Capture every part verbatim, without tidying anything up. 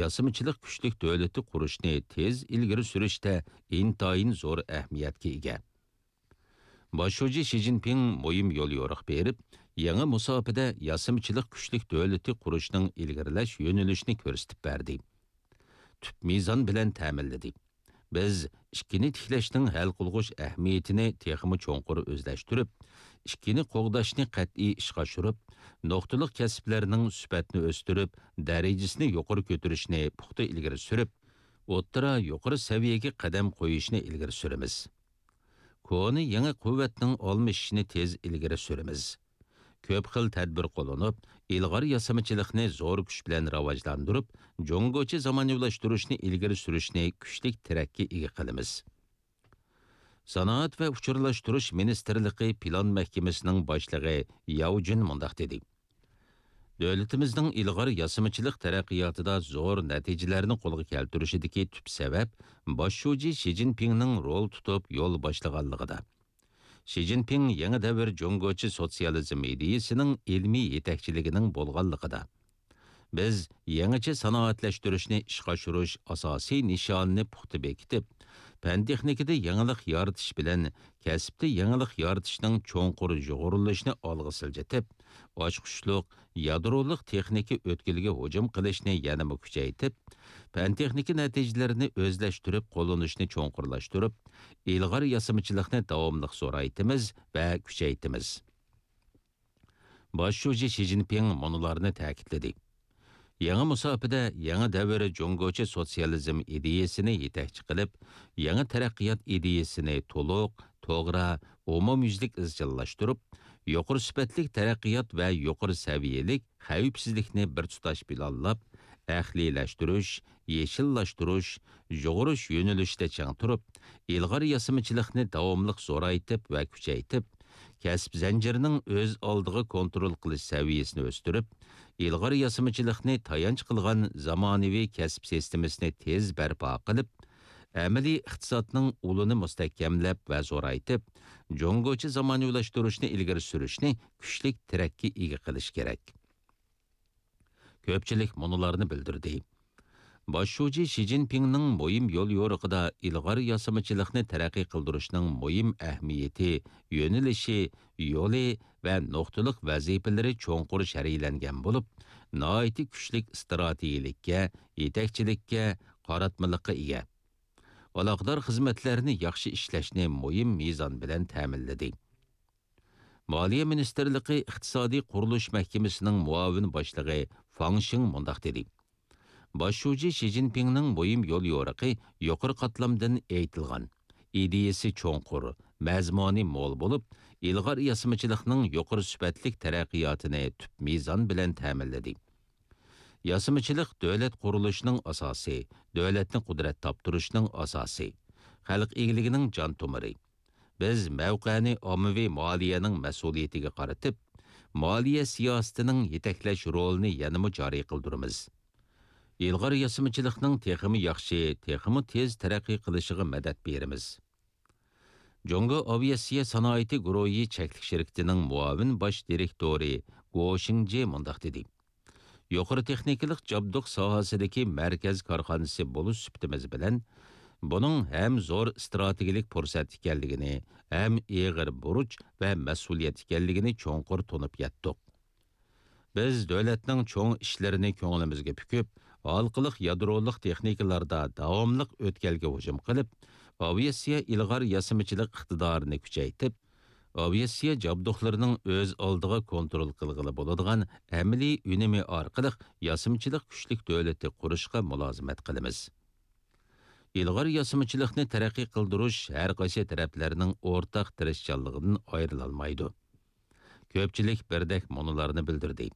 ياسىمىچىلىق كۈچلۈك دۆلىتى قۇرۇشنى تېز ئىلگىرى سۈرۈشتە ئىنتايىن زور ئەھمىيەتكە ئىگە. باش شۇجى شى جىنپىڭ مۇھىم يوليورۇق بېرىپ، يېڭى مۇساپىدە ياسىمىچىلىق كۈچلۈك دۆلىتى قۇرۇشنىڭ ئىلگىرىلەش يۆنىلىشىنى كۆرسىتىپ بەردى. تۈپ مىزان بىلەن تەمىنلىدى. بىز ئىككىنى تىكلەشنىڭ ھەل قىلغۇچ ئەھمىيىتىنى تېخىمۇ چوڭقۇر ئۆزلەشتۈرۈپ، ئىككىنى قوغداشنى قەتئىي ئىشقا ئاشۇرۇپ، نۇقتىلىق كەسىپلەرنىڭ سۈپەتنى ئۆستۈرۈپ، دەرىجىسىنى يۇقىرى كۆتۈرۈشنى پۇختا ئىلگىرى سۈرۈپ، ئوتتۇرا، يۇقىرى سەۋىيەگە قەدەم قويۇشنى ئىلگىرى سۈرىمىز. كونا يېڭى قۇۋۋەتنىڭ ئالمىشىشىنى تېز ئىلگىرى سۈرىمىز. كۆپ خىل تەدبىر قوللىنىپ، ئىلغار ياسىمىچىلىقنى زور كۈچ بىلەن راۋاجلاندۇرۇپ، جۇڭگوچە زامانىۋىلاشتۇرۇشنى ئىلگىرى سۈرۈشنى كۈچلۈك تىرەككە ئىگە قىلىمىز. سانائەت ۋە ئۇچۇرلاشتۇرۇش مىنىستىرلىقى پىلان مەھكىمىسىنىڭ باشلىقى ياۋ جۈن مۇنداق دېدى: دۆلىتىمىزنىڭ ئىلغار ياسىمىچىلىق تەرەققىياتىدا زور نەتىجىلەرنى قولغا كەلتۈرۈشىدىكى تۈپ سەۋەب باش شۇجى شى جىنپىڭنىڭ رول تۇتۇپ يول باشلىغانلىقىدا. شى جىنپىڭ يېڭى دەۋر جۇڭگوچە سوتسىيالىزم ئىدىيىسىنىڭ ئىلمىي يېتەكچىلىكىنىڭ بولغانلىقىدا، بىز يېڭىچە سانائەتلەشتۈرۈشنى ئىشقا ئاشۇرۇش ئاساسىي نىشانىنى پۇختا بېكىتىپ، پەن-تېخنىكىدا يېڭىلىق يارىتىش بىلەن كەسىپتە يېڭىلىق يارىتىشنىڭ چوڭقۇر يۇغۇرۇلۇشىنى ئالغا سىلجىتىپ، ئاچقۇچلۇق يادرولۇق تېخنىكا ئۆتكىلىگە ھۇجۇم قىلىشنى يەنىمۇ كۈچەيتىپ، پەن-تېخنىكا نەتىجىلىرىنى ئۆزلەشتۈرۈپ قوللىنىشنى چوڭقۇرلاشتۇرۇپ، ئىلغار ياسىمىچىلىقنى داۋاملىق زورايتىمىز ۋە كۈچەيتىمىز. باش شۇجى شى جىنپىڭ مۇنۇلارنى تەكىتلىدى: يېڭى مۇساپىدە يېڭى دەۋر جۇڭگوچە سوتسىيالىزم ئىدىيىسىنى يېتەكچى قىلىپ، يېڭى تەرەققىيات ئىدىيىسىنى تولۇق، توغرا، ئومۇميۈزلۈك ئىزچىللاشتۇرۇپ، يۇقىرى سۈپەتلىك تەرەققىيات ۋە يۇقىرى سەۋىيەلىك خەۋپسىزلىكنى بىر تۇتاش پىلانلاپ، ئەقلىيلەشتۈرۈش، يېشىللاشتۇرۇش، يۇغۇرۇش يۆنىلىشىدە چىڭ تۇرۇپ، ئىلغار ياسىمىچىلىقنى داۋاملىق زورايتىپ ۋە كۈچەيتىپ، كەسىپ زەنجىرىنىڭ ئۆز ئالدىغا كونترول قىلىش سەۋىيەسىنى ئۆستۈرۈپ، ئىلغار ياسىمىچىلىقنى تايانچ قىلغان زامانىۋى كەسىپ سىستېمىسىنى تېز بەرپا قىلىپ، ئەمەلىي ئىقتىسادنىڭ ئۇلىنى مۇستەھكەملەپ ۋە زورايتىپ، جۇڭگوچە زامانىۋىلاشتۇرۇشنى ئىلگىرى سۈرۈشنى كۈچلۈك تىرەككە ئىگە قىلىش كېرەك. كۆپچىلىك مۇنۇلارنى بىلدۈردى. باش شۇجى شى جىنپىڭنىڭ مۇھىم يوليورۇقىدا ئىلغار ياسىمىچىلىقنى تەرەققىي قىلدۇرۇشنىڭ مۇھىم ئەھمىيىتى، يۆنىلىشى، يولى ۋە نۇقتىلىق ۋەزىپىلىرى چوڭقۇر شەرھلەنگەن بولۇپ، ناھايىتى كۈچلۈك ئىستراتېگىيىلىككە، يېتەكچىلىككە، قاراتمىلىققا ئىگە. ئالاقىدار خىزمەتلەرنى ياخشى ئىشلەشنى مۇھىم مىزان بىلەن تەمىنلىدى. مالىيە مىنىستىرلىقى ئىقتىسادىي قۇرۇلۇش مەھكىمىسىنىڭ مۇئاۋىن باشلىقى فاڭ شىڭ مۇنداق دېدى: باش شۇجى شى جىنپىڭنىڭ مۇھىم يوليورۇقى يۇقىرى قاتلامدىن ئېيتىلغان، ئىدىيىسى چوڭقۇر، مەزمۇنى مول بولۇپ، ئىلغار ياسىمىچىلىقنىڭ يۇقىرى سۈپەتلىك تەرەققىياتىنى تۈپ مىزان بىلەن تەمىنلىدى. ياسىمىچىلىق دۆلەت قۇرۇلۇشىنىڭ ئاساسى، دۆلەتنى قۇدرەت تاپتۇرۇشنىڭ ئاساسى، خەلق ئىگىلىكىنىڭ جان تومۇرى. بىز مەۋقەنى ئاممىۋى مالىيەنىڭ مەسئۇلىيىتىگە قارىتىپ، مالىيە سىياسىتىنىڭ يېتەكلەش رولىنى يەنىمۇ جارى قىلدۇرىمىز. ئىلغار ياسىمىچىلىقنىڭ تېخىمۇ ياخشى، تېخىمۇ تېز تەرەققىي قىلىشىغا مەدەت بېرىمىز. جۇڭگو ئاۋىئاتسىيە سانائىتى گۇرۇھى چەكلىك شىركىتىنىڭ مۇئاۋىن باش دىرېكتورى گو شىڭجې مۇنداق دېدى: يۇقىرى تېخنىكىلىق جابدۇق ساھەسىدىكى مەركەز كارخانىسى بولۇش سۈپىتىمىز بىلەن، بۇنىڭ ھەم زور ئىستراتېگىيەلىك پۇرسەت ئىكەنلىكىنى، ھەم ئېغىر بۇرچ ۋە مەسئۇلىيەت ئىكەنلىكىنى چوڭقۇر تونۇپ يەتتۇق. بىز دۆلەتنىڭ چوڭ ئىشلىرىنى كۆڭلىمىزگە پۈكۈپ، ھالقىلىق يادرولۇق تېخنىكىلاردا داۋاملىق ئۆتكەلگە ھۇجۇم قىلىپ، ئاۋىئاتسىيە ئىلغار ياسىمىچىلىق ئىقتىدارىنى كۈچەيتىپ، ئاۋىئاتسىيە جابدۇقلىرىنىڭ ئۆز ئالدىغا كونترول قىلغىلى بولىدىغان ئەمەلىي ئۈنۈمى ئارقىلىق ياسىمىچىلىق كۈچلۈك دۆلىتى قۇرۇشقا مۇلازىمەت قىلىمىز. ئىلغار ياسىمىچىلىقنى تەرەققىي قىلدۇرۇش ھەر قايسى تەرەپلەرنىڭ ئورتاق تىرىشچانلىقىدىن ئايرىلالمايدۇ. كۆپچىلىك بىردەك مۇنۇلارنى بىلدۈردى: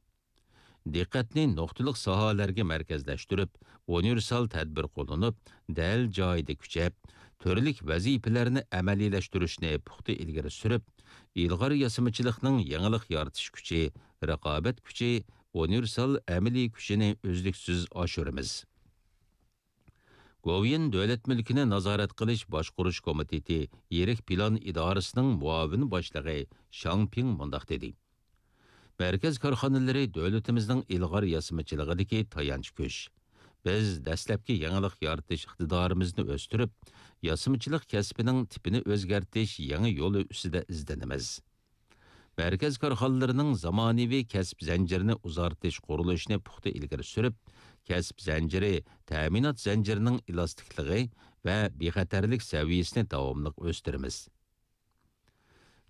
دىققەتنى نۇقتىلىق ساھەلەرگە مەركەزلەشتۈرۈپ، ئۇنىۋېرسال تەدبىر قوللىنىپ، دەل جايىدا كۈچەپ، تۈرلۈك ۋەزىپىلەرنى ئەمەلىيلەشتۈرۈشنى پۇختا ئىلگىرى سۈرۈپ، ئىلغار ياسىمىچىلىقنىڭ يېڭىلىق يارىتىش كۈچى، رىقابەت كۈچى، ئۇنىۋېرسال ئەمەلىي كۈچىنى ئۈزلۈكسىز ئاشۇرىمىز. گوۋۇيۈەن دۆلەت مۈلكىنى نازارەت قىلىش باشقۇرۇش كومىتېتى يىرىك پىلان ئىدارىسىنىڭ مۇئاۋىن باشلىقى شاڭ پىڭ مۇنداق دېدى: مەركەز كارخانىلىرى دۆلىتىمىزنىڭ ئىلغار ياسىمىچىلىقىدىكى تايانچ كۈچ. بىز دەسلەپكى يېڭىلىق يارىتىش ئىقتىدارىمىزنى ئۆستۈرۈپ، ياسىمىچىلىق كەسپىنىڭ تىپىنى ئۆزگەرتىش يېڭى يولى ئۈستىدە ئىزدىنىمىز. مەركەز كارخانىلىرىنىڭ زامانىۋى كەسىپ زەنجىرىنى ئۇزارتىش قۇرۇلۇشىنى پۇختا ئىلگىرى سۈرۈپ، كەسىپ زەنجىرى، تەمىنات زەنجىرىنىڭ ئېلاستىكلىقى ۋە بىخەتەرلىك سەۋىيەسىنى داۋاملىق ئۆستۈرىمىز.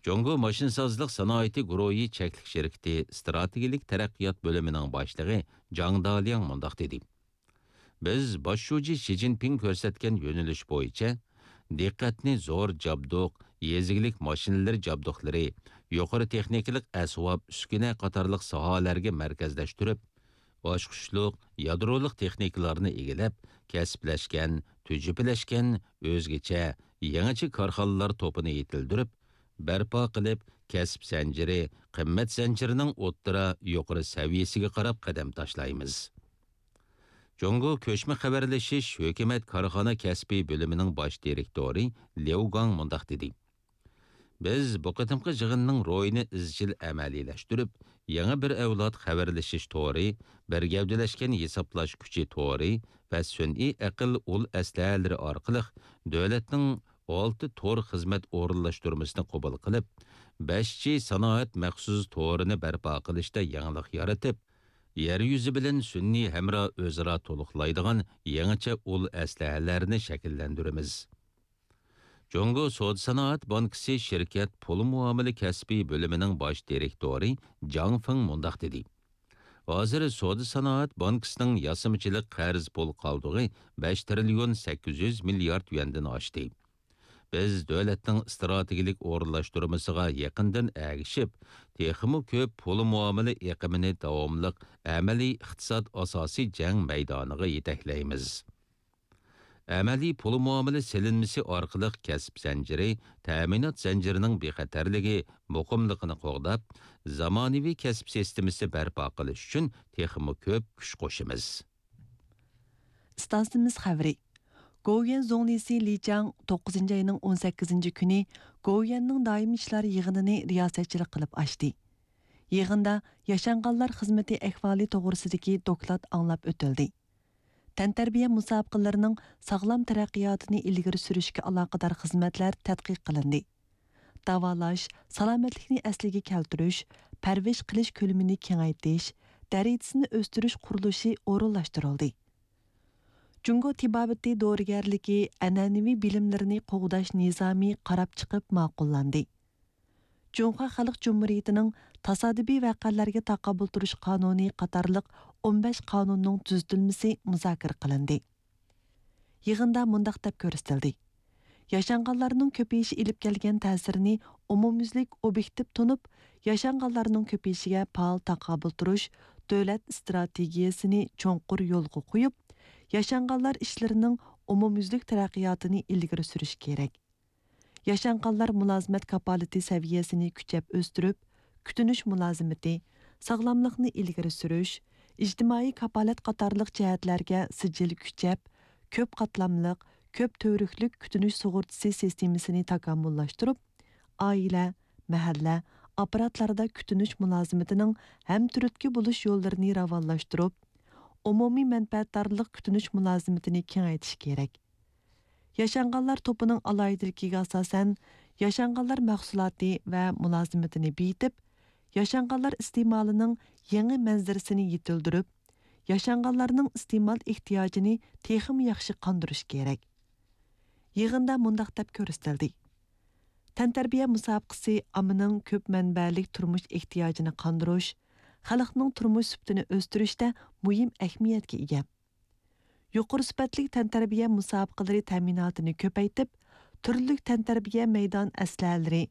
جۇڭگو ماشىنىسازلىق سانائىتى گۇرۇھى چەكلىك شىركىتى ئىستراتېگىيەلىك تەرەققىيات بۆلۈمىنىڭ باشلىقى جاڭ دالياڭ مۇنداق دېدى: بىز باش شۇجى شى جىنپىڭ كۆرسەتكەن يۆنىلىش بويىچە دىققەتنى زور جابدۇق، يېزا ئىگىلىك ماشىنىلىرى جابدۇقلىرى، يۇقىرى تېخنىكىلىق ئەسۋاب، ئۈسكۈنە قاتارلىق ساھەلەرگە مەركەزلەشتۈرۈپ، ئاچقۇچلۇق يادرولۇق تېخنىكىلارنى ئىگىلەپ، كەسىپلەشكەن، تۈجۈپىلەشكەن، ئۆزگىچە، يېڭىچە كارخانىلار توپىنى يېتىلدۈرۈپ، بەرپا قىلىپ، كەسىپ زەنجىرى، قىممەت زەنجىرىنىڭ ئوتتۇرا، يۇقىرى سەۋىيەسىگە قاراپ قەدەم تاشلايمىز. جۇڭگو كۆچمە خەۋەرلىشىش ھۆكۈمەت كارخانا كەسپى بۆلۈمىنىڭ باش دىرېكتورى ليۇ گاڭ مۇنداق دېدى: بىز بۇ قېتىمقى يىغىننىڭ روھىنى ئىزچىل ئەمەلىيلەشتۈرۈپ، يېڭى بىر ئەۋلاد خەۋەرلىشىش تورى، بىر گەۋدىلەشكەن ھېسابلاش كۈچى تورى ۋە سۈنئىي ئەقىل ئۇل ئەسلىھەلىرى ئارقىلىق دۆلەتنىڭ ئالتە تور خىزمەت ئورۇنلاشتۇرمىسىنى قوبۇل قىلىپ، بەش جى سانائەت مەخسۇس تورىنى بەرپا قىلىشتا يېڭىلىق يارىتىپ، يەر يۈزى بىلەن سۈنئىي ھەمراھ ئۆزئارا تولۇقلايدىغان يېڭىچە ئۇل ئەسلىھەلەرنى شەكىللەندۈرىمىز. جۇڭگو سودا سانائەت بانكىسى شىركەت پۇل مۇئامىلە كەسپى بۆلۈمىنىڭ باش دىرېكتورى جاڭ فېڭ مۇنداق دېدى: ھازىر سودا سانائەت بانكىسىنىڭ ياسىمىچىلىق قەرز پۇل قالدۇقى بەش تىرىليون سەككىز يۈز مىليارد يۈەندىن ئاشتى. بىز دۆلەتنىڭ ئىستراتېگىيەلىك ئورۇنلاشتۇرمىسىغا يېقىندىن ئەگىشىپ، تېخىمۇ كۆپ پۇل مۇئامىلە ئېقىمىنى داۋاملىق ئەمەلىي ئىقتىساد ئاساسىي جەڭ مەيدانىغا يېتەكلەيمىز. ئەمەلىي پۇل مۇئامىلە سېلىنمىسى ئارقىلىق كەسىپ زەنجىرى، تەمىنات زەنجىرىنىڭ بىخەتەرلىكى، مۇقىملىقىنى قوغداپ، زامانىۋى كەسىپ سىستېمىسى بەرپا قىلىش ئۈچۈن تېخىمۇ كۆپ كۈچ قوشىمىز. ئىستانسىمىز خەۋىرى. گوۋۇيۈەن زۇڭلىسى لى چاڭ توققۇزىنچى ئاينىڭ ئون سەككىزىنچى كۈنى گوۋۇيۈەننىڭ دائىمىي ئىشلار يىغىنىنى رىياسەتچىلىك قىلىپ ئاچتى. يىغىندا ياشانغانلار خىزمىتى ئەھۋالى توغرىسىدىكى دوكلات ئاڭلاپ ئۆتۈلدى. تەنتەربىيە مۇسابىقىلىرىنىڭ ساغلام تەرەققىياتىنى ئىلگىرى سۈرۈشكە ئالاقىدار خىزمەتلەر تەتقىق قىلىندى. داۋالاش، سالامەتلىكنى ئەسلىگە كەلتۈرۈش، پەرۋىش قىلىش كۆلىمىنى كېڭەيتىش، دەرىجىسىنى ئۆستۈرۈش قۇرۇلۇشى ئورۇنلاشتۇرۇلدى. جۇڭگو تېبابىتى دورىگەرلىكى ئەنئەنىۋى بىلىملىرىنى قوغداش نىزامى قاراپ چىقىپ ماقۇللاندى. جۇڭخۇا خەلق جۇمھۇرىيىتىنىڭ تاسادىپىي ۋەقەلەرگە تاقابىل تۇرۇش قانۇنى قاتارلىق ئون بەش قانۇننىڭ تۈزىتىلمىسى مۇزاكىرە قىلىندى. يىغىندا مۇنداق دەپ كۆرسىتىلدى: ياشانغانلارنىڭ كۆپىيىشى ئېلىپ كەلگەن تەسىرىنى ئومۇميۈزلۈك ئوبيېكتىپ تونۇپ، ياشانغانلارنىڭ كۆپىيىشىگە پائال تاقابىل تۇرۇش دۆلەت ئىستراتېگىيەسىنى چوڭقۇر يولغا قويۇپ، ياشانغانلار ئىشلىرىنىڭ ئومۇميۈزلۈك تەرەققىياتىنى ئىلگىرى سۈرۈش كېرەك. ياشانغانلار مۇلازىمەت كاپالىتى سەۋىيەسىنى كۈچەپ ئۆستۈرۈپ، كۈتۈنۈش مۇلازىمىتى، ساغلاملىقنى ئىلگىرى سۈرۈش، ئىجتىمائىي كاپالەت قاتارلىق جەھەتلەرگە سىجىل كۈچەپ، كۆپ قاتلاملىق، كۆپ تۈۋرۈكلۈك كۈتۈنۈش سۇغۇرتىسى سىستېمىسىنى تاكامۇللاشتۇرۇپ، ئائىلە، مەھەللە، ئاپپاراتلاردا كۈتۈنۈش مۇلازىمىتىنىڭ ھەمتۈرتكە بولۇش يوللىرىنى راۋانلاشتۇرۇپ، ئومۇمىي مەنپەئەتدارلىق كۈتۈنۈش مۇلازىمىتىنى كېڭەيتىش كېرەك. ياشانغانلار توپىنىڭ ئالاھىدىلىكىگە ئاساسەن، ياشانغانلار مەھسۇلاتى ۋە مۇلازىمىتىنى بېيىتىپ، ياشانغانلار ئىستېمالىنىڭ يېڭى مەنزىرىسىنى يېتىلدۈرۈپ، ياشانغانلارنىڭ ئىستېمال ئېھتىياجىنى تېخىمۇ ياخشى قاندۇرۇش كېرەك. يىغىندا مۇنداق دەپ كۆرسىتىلدى: تەنتەربىيە مۇسابىقىسى ئاممىنىڭ كۆپ مەنبەلىك تۇرمۇش ئېھتىياجىنى قاندۇرۇش، خەلقنىڭ تۇرمۇش سۈپىتىنى ئۆستۈرۈشتە مۇھىم ئەھمىيەتكە ئىگە. يۇقىرى سۈپەتلىك تەنتەربىيە مۇسابىقىلىرى تەمىناتىنى كۆپەيتىپ، تۈرلۈك تەنتەربىيە مەيدان ئەسلىھەلىرى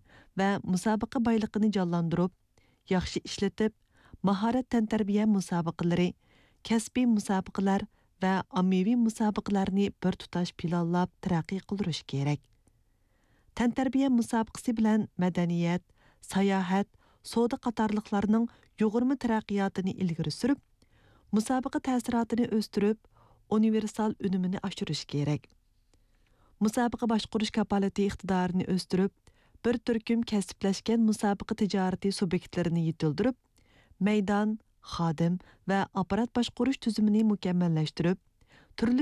ۋە مۇسابىقە بايلىقىنى جانلاندۇرۇپ، ياخشى ئىشلىتىپ، ماھارەت تەنتەربىيە مۇسابىقىلىرى، كەسپىي مۇسابىقىلەر ۋە ئاممىۋى مۇسابىقىلەرنى بىر تۇتاش پىلانلاپ تەرەققىي قىلدۇرۇش كېرەك. تەنتەربىيە مۇسابىقىسى بىلەن مەدەنىيەت، ساياھەت، سودا قاتارلىقلارنىڭ يۇغۇرما تەرەققىياتىنى ئىلگىرى سۈرۈپ، مۇسابىقە تەسىراتىنى ئۆستۈرۈپ، ئۇنىۋېرسال ئۈنۈمىنى ئاشۇرۇش كېرەك. مۇسابىقە باشقۇرۇش كاپالىتى ئىقتىدارىنى ئۆستۈرۈپ، بىر تۈركۈم كەسىپلەشكەن مۇسابىقە تىجارىتى سۇبيېكتلىرىنى يېتىلدۈرۈپ، مەيدان، خادىم ۋە ئاپپارات باشقۇرۇش تۈزۈمىنى مۇكەممەللەشتۈرۈپ، تۈرلۈك